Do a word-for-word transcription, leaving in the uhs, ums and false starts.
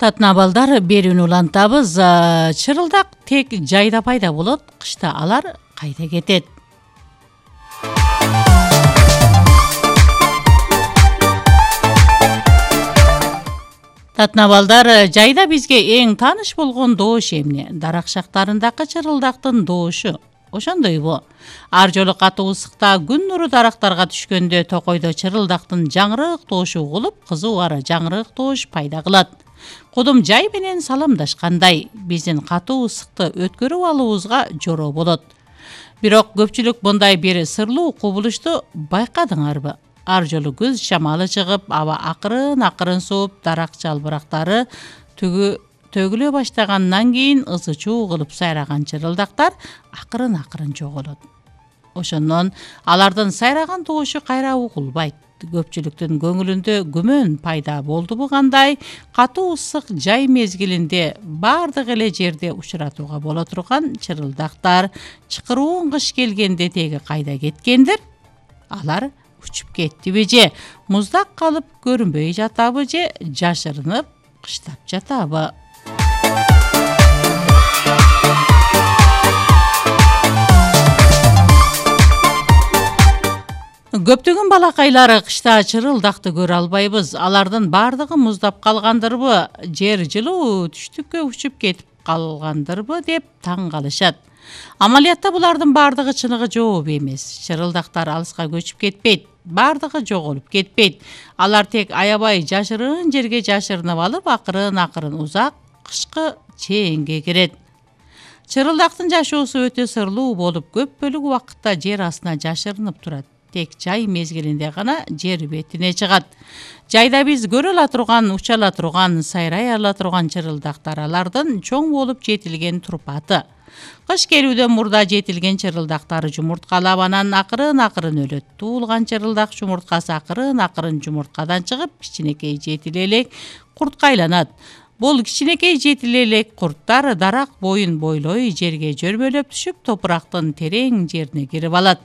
Татнабалдар берүүнү улантабыз. Чырылдак тек жайда пайда болот, кышта алар кайда кетет? Татнабалдар жайда бизге эң тааныш болгон доош эмне? Даракшактарындагы чырылдактын доошу. Ошондойбу? Ар жолу катуу ысыкта күн нуру дарактарга түшкөндө токойдо чырылдактын жаңырык доошу угулуп, кызуу ара жаңырык доош пайда кылат. Кудум жай менен саламдашкандай, биздин катуу ысыкты өткөрүп алуубузга жороо болот. Бирок көпчүлүк мындай бир сырлуу кубулушту байкадыңарбы? Ар жолу күз шамалы чыгып, аба акырын-акырын сууп, дарак жалбырактары түгү төгүлө баштагандан кийин ызы чуу кылып сайраган чырылдактар акырын-акырын жоголот. Ошондон алардын сайраган доошу кайра угулбайт. Көпчүлүктүн көңүлүндө күмөн пайда болдубу кандай? Катуу ысык жай мезгилинде бардык эле жерде учуратууга боло турган чырылдактар чыкыруун кыш келгенде теги кайда кеткендир? Алар учуп кеттиби же муздак калып көрүнбөй жатабы же жашырынып кыштап жатабы? Көптөгөн балакайлар кышта чырылдакты көрө албайбыз. Алардын бардыгы муздап калгандырбы, жер жылуу түштүккө учуп кетип калгандырбы деп таң калышат. Амалиятта булардын бардыгы чыныгы жооп эмес. Чырылдактар алыска көчүп кетпейт, бардыгы жоголуп кетпейт. Алар тек аябай жашырын жерге жашырынып алып, акырын-акырын узак кышкы чээнге кирет. Чырылдактын жашоосу өтө сырлуу болуп, көп бөлүк убакытта жер астына жашырынып турат. Тек жай мезгилинде гана жер бетине чыгат. Жайда биз көрө ала турган, уча ала турган, сайрай ала турган чырылдактар алардын чоң болуп жетилген турпаты. Кыш келүүдөн мурда жетилген чырылдактар жумурткалап, анан акырын-акырын өлөт. Туулган чырылдак жумурткасы акырын-акырын жумурткадан чыгып, кичинекей жетил элек куртка айланат. Бул кичинекей жетил элек курттар дарак боюн бойлой жерге жөрмөлөп түшүп, топурактын терең жерине кирип алат.